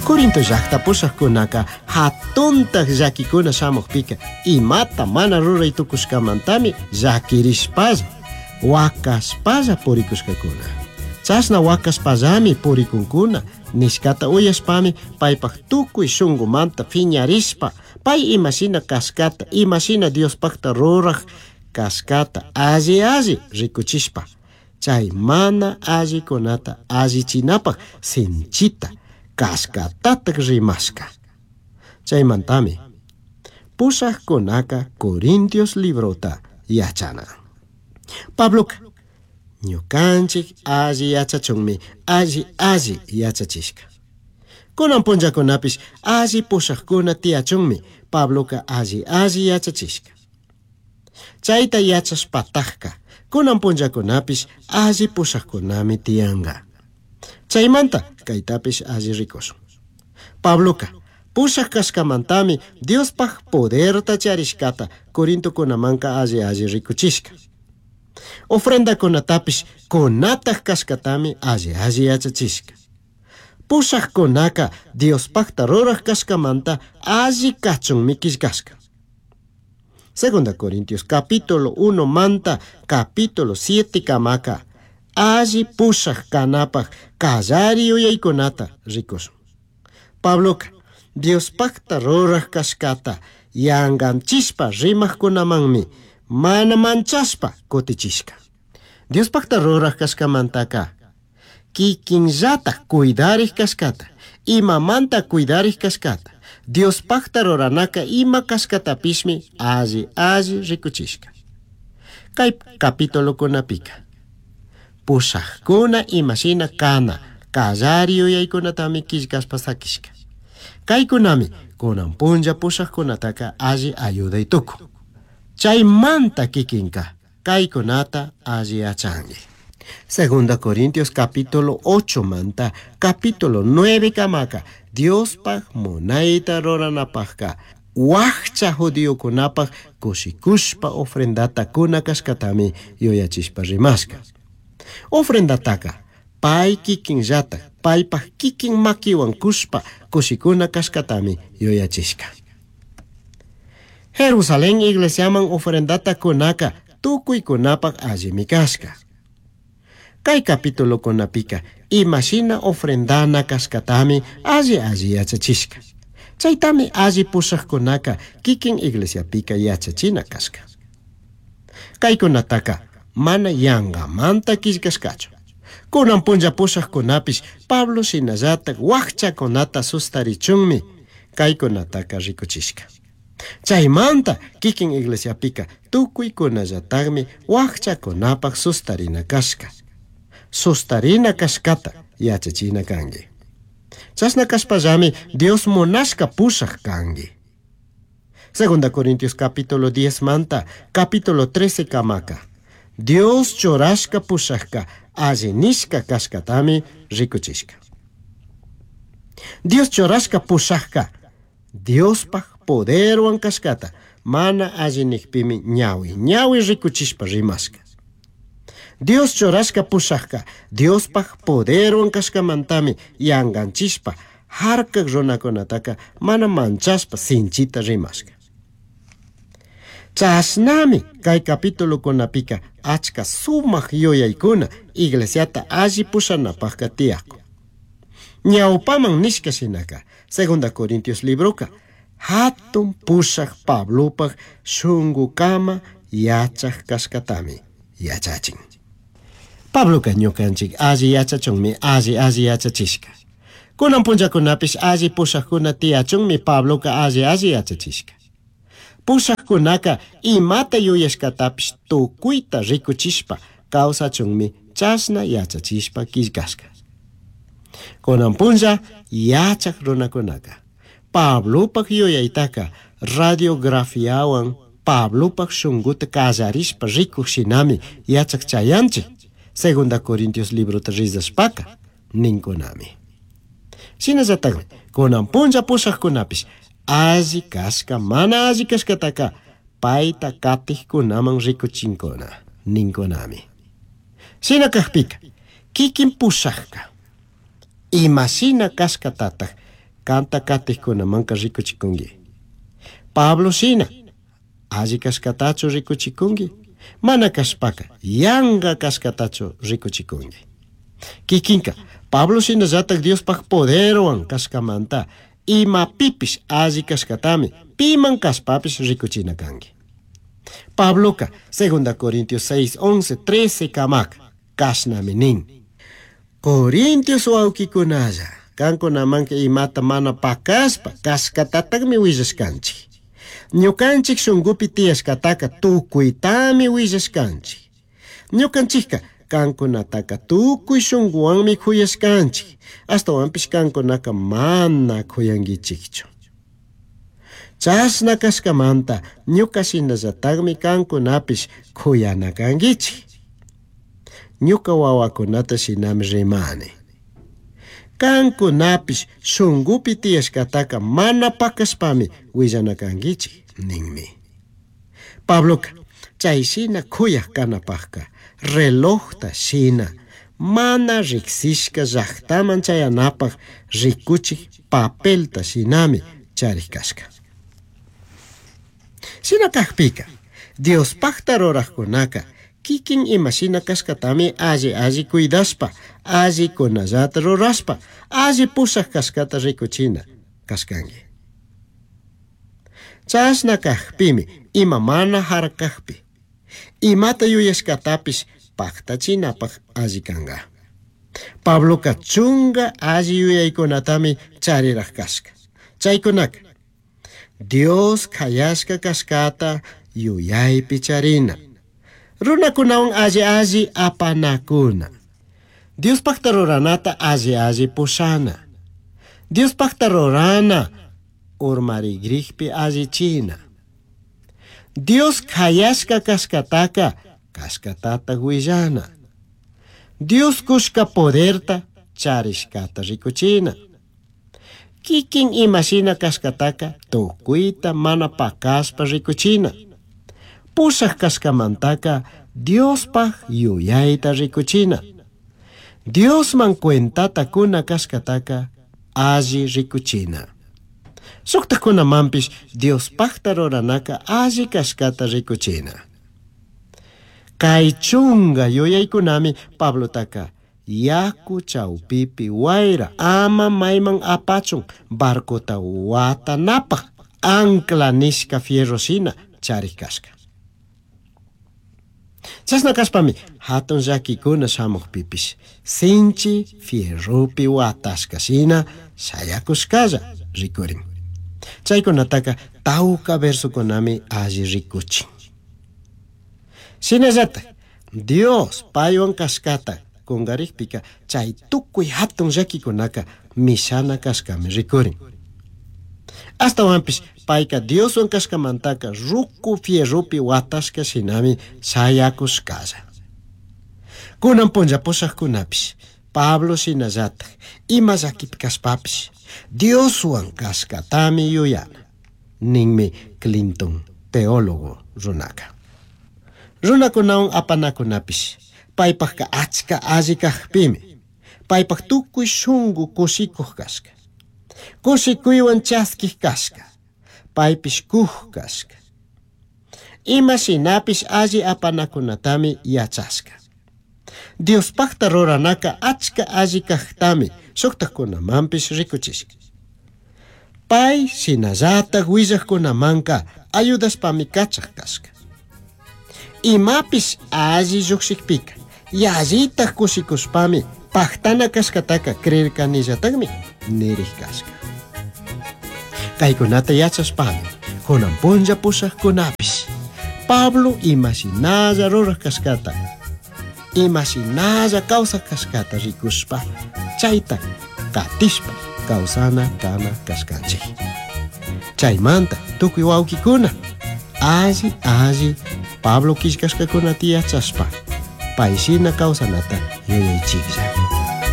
Corinto llaqta pushaqkunaka hatuntaq llakikuna shamuqpika imata mana ruray tukushkamantami llakirishpalla wakashpalla purikushkakuna. Chashna wakashpallami purikunkuna nishkata uyashpami paypaq tukuy shunqumanta phiñarishpa pay imashina kashkata imashina Diospaqta ruraq kashkata alli alli rikuchishpa chay mana allikunata allichinapaq sinchita kashkatataq rimashka. Chaymantami pushaqkunaka Corintios librota yachana. Pabloka ñukanchik alli yachachunmi alli alli yachachishka. Kunan punllakunapish alli pushaqkuna tiyachunmi Pabloka alli alli yachachishka. Chayta yachashpatajka kunan punllakunapish alli pushaqkunami tiyanka. Chaymanta kaytapish alli rikushun. Pabloka pushaq kashkamantami Diospaq poderta charishkata Corintokunamanka alli alli rikuchishka. Ofrendakunatapish kunataq kashkatami alli alli yachachishka. Pushaqkunaka Diospaqta ruraq kashkamanta alli kachunmi killkashka. Segunda Corintios capítulo 1 manta capítulo 7 kamaka alli pushaq kanapaq kallari yuyaykunata rikushun. Pabloka Diospaqta ruraq kashkata yanqanchishpa rimaqkunamanmi mana manchashpa kutichishka. Diospaqta ruraq kashkamantaka kikinllataq cuidariq kashkata imamanta cuidariq kashkata Diospaqta ruranaka ima kashkatapishmi alli alli rikuchishka. Kay capitulokunapika pushaqkuna imashina kana kallari yuyaykunatami killkashpa sakishka. Kaykunami kunan punlla pushaqkunataka alli ayuday tukun. Chaymanta kikinka kaykunata alli yachanki. Segunda Corintios capítulo 8 manta capítulo 9 kamaka Diospaq munayta ruranapaqka wakcha judiokunapaq kushikushpa ofrendata kuna kashkatami yuyachishpa rimashka. Ofrendataka pay kikinllatak paypaq kikin makiwan kushpa kushikuna kashkatami yuyachishka. Jerusalén iglesiaman ofrendata kunaka tukuykunapaq allimi kashka. Kay capitulokunapika imashina ofrendana kashkatami alli alli yachachishka. Chaytami alli pushaqkunaka kikin iglesiapika yachachina kashka. Kaykunataka mana yanqamanta killkashkachu. Kunan punlla pushaqkunapish Pablo shinallatak wakchakunata sustarichunmi kaykunataka rikuchishka. Chaymanta kikin iglesiapika tukuykunallataqmi wakchakunapaq sustarina kashka. Sustarina kashkata yachachina kanki. Chashna kashpallami Dios munashka pushaq kanki. Segunda Corintios capítulo 10 manta capítulo 13 kamaka. Dios churashka pushaqka alli nishka kashkatami rikuchishka. Dios churashka pushaqka Diospaq poderwan kashkata mana alli nikpimi ñawi ñawi rikuchishpa rimashka. Dios churashka pushaqka Diospaq poderwan kashkamantami yanqanchishpa harkaq runakunataka mana manchashpa sinchita rimashka. Chashnami kay capitulokunapika achka sumaq yuyaykuna iglesiata alli pushanapaqka tiyakun. Ñawpaman nishka shinaka Segunda Corintios libroka hatun pushaq Pablopaq shunqukama yachaq kashkatami yachachin. Pabloka ñukanchik alli yachachunmi alli alli yachachishka. Kunan punllakunapish alli pushaqkuna tiyachunmi Pabloka alli alli yachachishka. Pushaqkunaka imata yuyashkatapish tukuyta rikuchishpa kawsachunmi chashna yachachishpa killkashka. Kunan punlla yachaq runakunaka Pablopaq yuyaytaka radiografiawan Pablopaq shunquta kallarishpa rikuq shinami yachaq chayanchik. Segunda Corintios librota rizashpaka ninkunami. Shinallatakmi kunan punlla pushaqkunapish alli kashka mana alli kashkataka payta katiqkunaman rikuchinkuna ninkunami. Shina kaqpika kikin pushaqka imashina kashkatataq Kanta katijkunamanka rikuchikunki. Pablo shina alli kashkatachu rikuchikunki, mana kashpaka yanka kashkatachu rikuchikunki. Kikinka Pablo shinallatak Diospaj poderwan kashkamanta imapipish alli kashkatami piman kashpapish rikuchina kanki. Pabloka 2 Corintios 6, 11, 13 kamaka kashnami nin. Corintios wawkikunalla kankunamanka imata mana pakashpa kashkatataqmi willashkanchik. Ñukanchik shunkupi tiyashkataka tukuytami willashkanchik. Ñukanchikka kankunataka tukuy shunkuwanmi kuyashkanchik. Ashtawanpish kankunaka mana kuyankichikchu. Chashna kashkamanta ñuka shinallataqmi kankunapish kuyana kankichik. Ñuka wawakunata shinami rimani. Kankunapish shunkupi tiyashkataka mana pakashpami willana kankichik ninmi. Pabloka chay shina kuyaq kanapaqka relojta shina mana riksishka llaqtaman chayanapaq rikuchik papelta shinami charik kashka. Shina kaqpika Diospaqta ruraqkunaka kikin imashina kashkatami alli alli cuidashpa, alli kunallata rurashpa, alli pushaq kashkata rikuchina kashkanki. Chashna kaqpimi ima mana harkaqpi, imata yuyashkatapish paktachinapaq alli kanka. Pabloka chunga alli yuyaykunatami chariraq kashka. Chaykunaka Dios kayashka kashkata yuyaypi charina. Runakunawan alli alli apanakuna. Diospaqta ruranata alli alli pushana. Diospaqta rurana urmarigrikpi allichina. Dios kayashka kashkataka kashkatata willana. Dios kushka poderta charishkata rikuchina. Kikin imashina kashkataka tukuyta mana pakashpa rikuchina. Pushaq kashkamantaka Diospaj yuyayta rikuchina. Diosman cuentata kuna kashkataka alli rikuchina. Shuktakunamanpish Diospajta ruranaka alli kashkata rikuchina. Kay chunga yuyaykunami Pablotaka yaku chawpipi wayra ama mayman apachun barcota watanapaq ancla nishka fierro shina charik kashka. Chashna kashpami hatun llakikuna shamuqpipish sinchi fierropi watashka shina shayakushkalla rikurin. Chaykunataka tawka versokunami alli rikuchin. Shinallatak Dios paywan kashkata kungarikpika chay tukuy hatun llakikunaka mishana kashkami rikurin. Ashtawanpish payka Dioswan kashkamantaka ruku fierropi watashka shinami shayakushkalla. Kunan punlla pushaqkunapish Pablo shinallatak ima llakipi kashpapish Dioswan kashkatami yuyana ninmi Clinton teólogo runaka. Runakunawan apanakunapish paypaqka achka alli kaqpimi paypaq tukuy shunku kushikuq kashka. Kushikuywan chaskiq kashka, paypish kuq kashka. Ima shinapish alli apanakunatami yachashka. Diospaqta ruranaka achka alli kaqtami shuktakunamanpish rikuchishka. Pay shinallatak willaqkunamanka ayudashpami kachaq kashka. Imapish alli lluqshikpika yallitaq kushikushpami paktana kashkataka creerkanillataqmi nirik kashka. Kaykunata yachashpami kunan punlla pushaqkunapish Pablo imashinalla ruraq kashkata, imashinalla kawsaq kashkata rikushpa chayta katishpa kawsana kana kashkanchik. Chaymanta tukuy wawkikuna alli alli Pablo killkashkakunata yachashpa pay shina kawsanata yuyaychiklla.